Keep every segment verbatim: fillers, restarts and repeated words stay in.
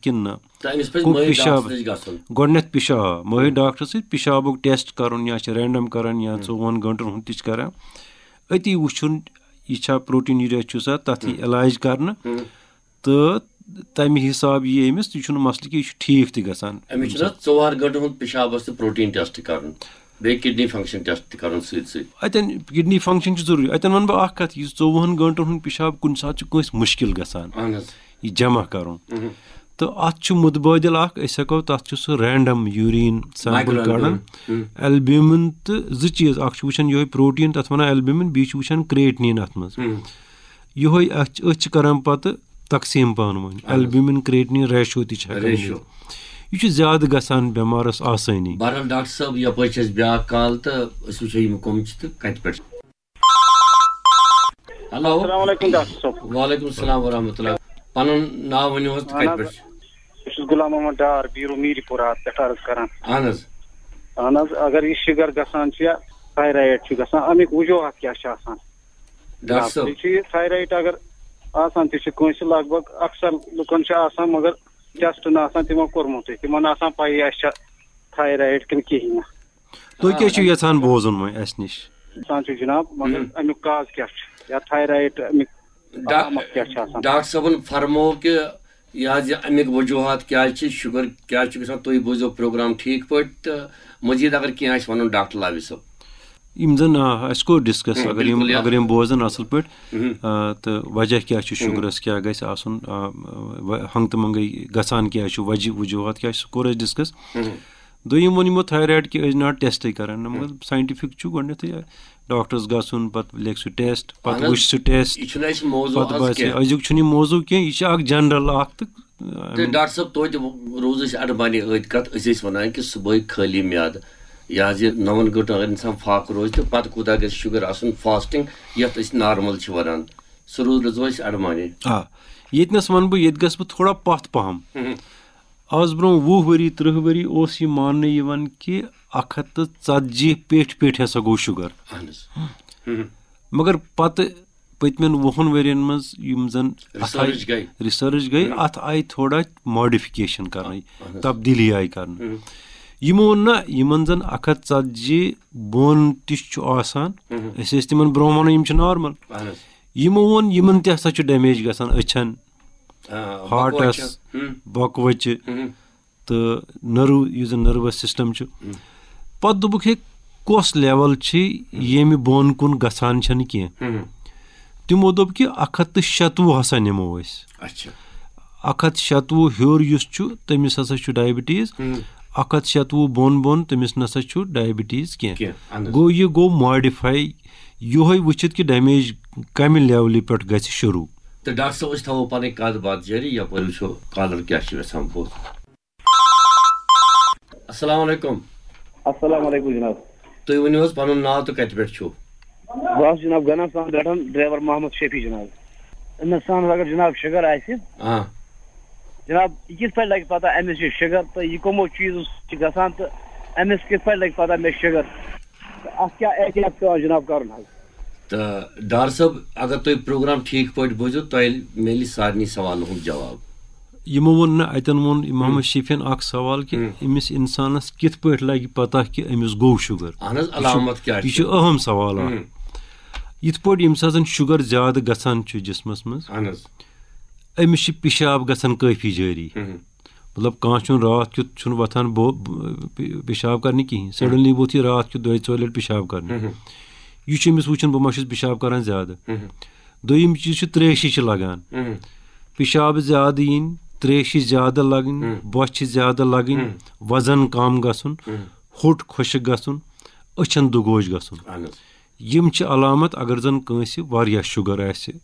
کِنہٕ نہ۔ تہٕ أمِس پَزِ گوٚو مٲہِر پِشاب۔ ڈاکٹرَس نِش گژھُن۔ گۄڈٕنٮ۪تھ پِشاب، مٲہِر ڈاکٹرَس سۭتۍ پِشابُک ٹیسٹ کَرُن، یا چھِ رینڈم کَران یا ژوٚوُہَن گٲنٛٹَن ہُنٛد تہِ چھِ کَران۔ أتی وٕچھُن یہِ چھا پروٹین یوٗریا چھُسا، تَتھ یی علاج کَرنہٕ۔ تہٕ تَمہِ حِساب یی أمِس، یہِ چھُنہٕ مسلہٕ کہِ یہِ چھُ ٹھیٖک تہِ گژھان۔ أمِس چھُنہ ژور گٲنٛٹَن ہُنٛد پِشابَس تہٕ پروٹین ٹیسٹ کَرُن، بیٚیہِ کِڈنی فنکشن ٹیسٹ تہِ کَرُن سۭتۍ سۭتۍ۔ اَتٮ۪ن کِڈنی فنکشن چھِ ضروٗری۔ اَتٮ۪ن وَنہٕ بہٕ اَکھ کَتھ، یُس ژوٚوُہَن گٲنٛٹَن ہُنٛد پِشاب کُنہِ ساتہٕ چھُ کٲنٛسہِ مُشکِل گژھان اہن حظ۔ یہِ جمع کَرُن۔ تہٕ اَتھ چھُ مُتبٲدِل اَکھ، أسۍ ہٮ۪کو تَتھ چھُ سُہ رینڈم یوٗریٖن سیمپل مایکرو کَڑان۔ البیومن تہٕ زٕ چیٖز، اَکھ چھُ وٕچھان یِہوٚے پروٹین، تَتھ وَنان البیومن، بیٚیہِ چھُ وٕچھان کرٛیٹنیٖن اَتھ منٛز۔ یِہوٚے اَتھ چھِ، أتھۍ چھِ کَران پَتہٕ تقسیٖم پانہٕ ؤنۍ۔ البیومن کرٛیٹنیٖن ریشو تہِ چھِ ہٮ۪کان ریشو۔ نِتھ۔ یہِ چھُ زیادٕ گژھان بٮ۪مارَس آسٲنی۔ بہرحال ڈاکٹر صٲب، یَپٲرۍ چھِ اَسہِ بیٛاکھ کال تہٕ أسۍ وٕچھو یِم کٕم چھِ تہٕ کَتہِ پٮ۪ٹھ چھِ۔ ہیلو۔ السلام علیکم ڈاکٹر صٲب۔ وعلیکم السلام ورحمۃ اللہ۔ پَنُن ناو ؤنِو حظ تہٕ کَتہِ اہن حظ، پٮ۪ٹھ چھِ؟ بہٕ چھُس غلام محمد ڈار، بیٖرو میٖری پورہ پٮ۪ٹھ عرض کران۔ اہن حظ۔ اہن حظ، اگر یہِ شُگر گژھان چھُ یا تھایرایڈ چھُ گژھان، اَمِکۍ وجوہات کیٛاہ چھِ آسان؟ ڈاکٹر صٲب۔ بیٚیہِ چھُ یہِ تھایرایڈ اگر آسان تہِ چھُ کٲنٛسہِ، لگ بگ اکثر لُکن چھُ آسان، مگر ٹیسٹ نہٕ آسان تِمن کوٚرمُتُے، تِمن نہٕ آسان پَیی اَسہِ چھا تھایرایڈ کِنہٕ کِہیٖنۍ نہٕ۔ تُہۍ کیٛاہ چھِو یَژھان بوزُن وۄنۍ اَسہِ نِش؟ آسان چھُ جناب، مگر ہم۔ اَمیُک کاز کیٛاہ چھُ یا تھایرایڈ اَمیُک ڈا- علامت کیٛاہ چھِ آسان؟ ڈاکٹر صٲبن فرموو کہِ یہِ حظ یہِ اَمِکۍ وجوہات کیٛازِ چھِ، شُگر کیٛازِ چھُ گژھان، تُہۍ بوٗزِو پروگرام ٹھیٖک پٲٹھۍ تہٕ مزید اگر کینٛہہ آسہِ وَنُن ڈاکٹر لاوی صٲب۔ یِم زَن، آ، اَسہِ کوٚر ڈِسکَس، ہم، اگر یِم بِلکُل، یا۔ اگر یِم بوزَن اَصٕل پٲٹھۍ، ہم۔ آ، تہٕ وجہ کیٛاہ چھُ شُگرَس، کیٛاہ گژھِ آسُن، آ، و- ہنٛگتہٕ منٛگَے گژھان کیٛاہ چھُ، وجہ وجوہات کیٛاہ چھِ، سُہ کوٚر اَسہِ ڈِسکَس۔ دوٚیِم ووٚن یِمو تھایرایڈ کہِ أسۍ ناٹ ٹیسٹٕے کَران، نہ مگر ساینٹِفِک چھُ گۄڈٕنٮ۪تھٕے ڈاکٹرَس گژھُن، پَتہٕ لیکھِ سُہ ٹیسٹ، پَتہٕ اہن حظ۔ وٕچھِ سُہ ٹیسٹ، یہِ چھُنہٕ اَسہِ موضوع پَتہٕ آز باسہِ کینٛہہ۔ أزیُک چھُنہٕ یہِ موضوع کینٛہہ، یہِ چھُ اَکھ جنرل اَکھ تہٕ، آ، تہٕ ڈاکٹر صٲب، توتہِ روٗز أسۍ اَڈٕ بَنہِ أتھۍ کَتھ، أسۍ ٲسۍ وَنان کہِ صُبحٲے خٲلی میادٕ، یہِ حظ یہِ نَوَن گٲنٛٹَن اگر اِنسان فاقہٕ روزِ تہٕ پَتہٕ کوٗتاہ گژھِ شُگر آسُن فاسٹِنٛگ، یَتھ أسۍ نارمل چھِ وَنان، سُہ روٗز روٗزو أسۍ اَڈٕ بَنہِ۔ آ، ییٚتنَس وَنہٕ بہٕ، ییٚتہِ گژھٕ بہٕ تھوڑا پَتھ پَہَم۔ آز برونٛہہ وُہ ؤری، تٕرٛہ ؤری اوس یہِ ماننہٕ یِوان کہِ اَکھ ہَتھ تہٕ ژَتجی پیٚٹھۍ پیٚٹھۍ ہسا گوٚو شُگر۔ اہن حظ۔ مگر پَتہٕ پٔتمٮ۪ن وُہَن ؤرین منٛز یِم زَن اَتھ آیہِ ریسرچ گٔے۔ ریسرچ گٔے، اَتھ آیہِ تھوڑا ماڈیفِکیشن کرنہٕ، تبدیٖلی آیہِ کرنہٕ۔ یِمو ووٚن نہ، یِمن زَن اَکھ ہَتھ ژَتجی بۄن تہِ چھُ آسان، أسۍ ٲسۍ تِمن برونٛہہ وَنان یِم چھِ نارمل۔ اہن حظ۔ یِمو ووٚن یِمن تہِ ہسا چھُ ڈیمیج گژھان أچھن، آ، ہارٹس، بۄکہٕ وَچہِ۔ بۄکہٕ وَچہِ تہٕ نٔرو، یُس زَن نٔروَس سِسٹَم چھُ۔ پَتہٕ دوٚپُکھ، ہے، کۄس لیول چھِ ییٚمہِ بۄن کُن گژھان چھَنہٕ کینٛہہ؟ تِمو دوٚپ کہِ اَکھ ہَتھ تہٕ شَتوُہ ہسا نِمو أسۍ۔ اچھا۔ اَکھ ہَتھ شَتوُہ ہیوٚر یُس چھُ، تٔمِس ہسا چھُ ڈائبٹیز۔ اَکھ ہَتھ شَتوُہ بۄن بۄن، تٔمِس نسا چھُ ڈائبٹیز کینٛہہ۔ کینٛہہ، اہن حظ۔ گوٚو، یہِ گوٚو ماڈِفاے یِہوٚے وٕچھِتھ کہِ ڈیمیج کَمہِ لیولہِ پٮ۪ٹھ گژھِ شروٗع۔ تہٕ ڈاکٹر صٲب، أسۍ تھاوو پَنٕنۍ کَتھ باتھ جٲری، یَپٲرۍ وٕچھو کالر کیٛاہ چھِ یَژھان بوزُن۔ السلام علیکم۔ السلام علیکم جناب۔ تُہۍ ؤنِو حظ پَنُن ناو تہٕ کَتہِ پٮ۪ٹھ چھُو؟ بہٕ حظ چھُس جناب گنم سان پٮ۪ٹھ، ڈرایور محمد شفیع جناب۔ أمِس سان اگر جناب شُگر آسہِ، آ۔ جناب، یہِ کِتھ پٲٹھۍ لگہِ پتہ أمِس چھُ شُگر تہٕ یہِ کٕمو چیٖزو سۭتۍ چھُ گژھان تہٕ أمِس کِتھ پٲٹھۍ لگہِ پتہ مےٚ شُگر؟ تہٕ اَتھ کیٛاہ احتیاط چھُ پٮ۪وان جناب کرُن حظ؟ تہٕ ڈار صٲب، اگر تُہۍ پروگرام ٹھیٖک پٲٹھۍ بوٗزِو، تۄہہِ میلہِ سارنٕے سوالن ہُنٛد جواب۔ یِمو ووٚن نہٕ، اَتٮ۪ن ووٚن اِمام شفیعن اکھ سوال کہِ أمِس اِنسانس کِتھ پٲٹھۍ لگہِ پتہ کہِ أمِس گوٚو شُگر؟ اہن حظ، علامت کیٛاہ یہِ چھِ؟ چھُ اہم سوال اکھ۔ یِتھ پٲٹھۍ ییٚمہِ ساتہٕ زن شُگر زیادٕ گژھان چھُ جسمس منٛز، اہن حظ۔ أمِس چھِ پِشاب گژھان کٲفی جٲری۔ مطلب، کانٛہہ چھُنہٕ راتھ کیُتھ چھُنہٕ وۄتھان بو-، ب-، پِ-، پِشاب کرنہِ کِہیٖنۍ۔ سڈنلی ووٚتھ یہِ راتھ کیُتھ دۄیہِ ژورِ لٹہِ پِشاب کرنہِ۔ یہِ چھُ أمِس وٕچھان، بہٕ ما چھُس پِشاب کران زیادٕ۔ دوٚیِم چیٖز چھُ، ترٛیشہِ چھِ لگان۔ پِشاب زیادٕ یِنۍ، ترٛیشہِ زیادٕ لگٕنۍ، بۄچھِ زیادٕ لگٕنۍ، وزن کم گژھُن، ہوٚٹ خۄشک گژھُن، أچھن دُگوش گژھُن۔ اہن حظ۔ یِم چھِ علامت اگر زن کٲنٛسہِ واریاہ شُگر آسہِ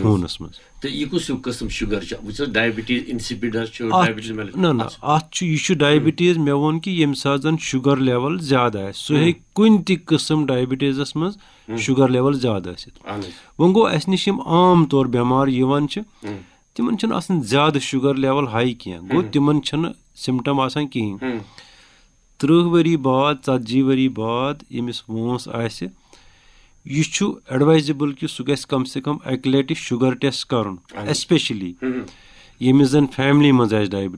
خوٗنس منٛز۔ تہٕ یہِ کُس ہیوٗ قٕسم شُگر چھُ؟ وٕچھ حظ، ڈایبٹیٖز اِنسِپِڈ حظ چھُ، اَتھ ڈایبٹیٖز مٮ۪لہِ-، نہ، نہ، اَتھ چھُ، یہِ چھُ ڈایبٹیٖز، مےٚ ووٚن کہِ ییٚمہِ ساتہٕ زَن شُگر لیول زیادٕ آسہِ، سُہ ہیٚکہِ کُنہِ تہِ قٕسم ڈایبٹیٖزَس منٛز شُگر لیول زیادٕ ٲسِتھ۔ اہن حظ۔ وۄنۍ گوٚو، اَسہِ نِش یِم عام طور بٮ۪مار یِوان چھِ، تِمن چھِنہٕ آسان زیادٕ شُگر لیول ہاے کینٛہہ، گوٚو، تِمن چھِنہٕ سِمٹم آسان کِہیٖنۍ۔ تٕرٛہ ؤری بعد، ژتجی ؤری بعد ییٚمِس وٲنٛس آسہِ، یہِ چھُ ایڈوایزیبل کہِ سُہ گژھِ کم سے کم اَکہِ لٹہِ شُگر ٹیسٹ کرُن، ایسپیشلی ییٚمِس زن فیملی منٛز آسہِ ڈایبٹیٖز۔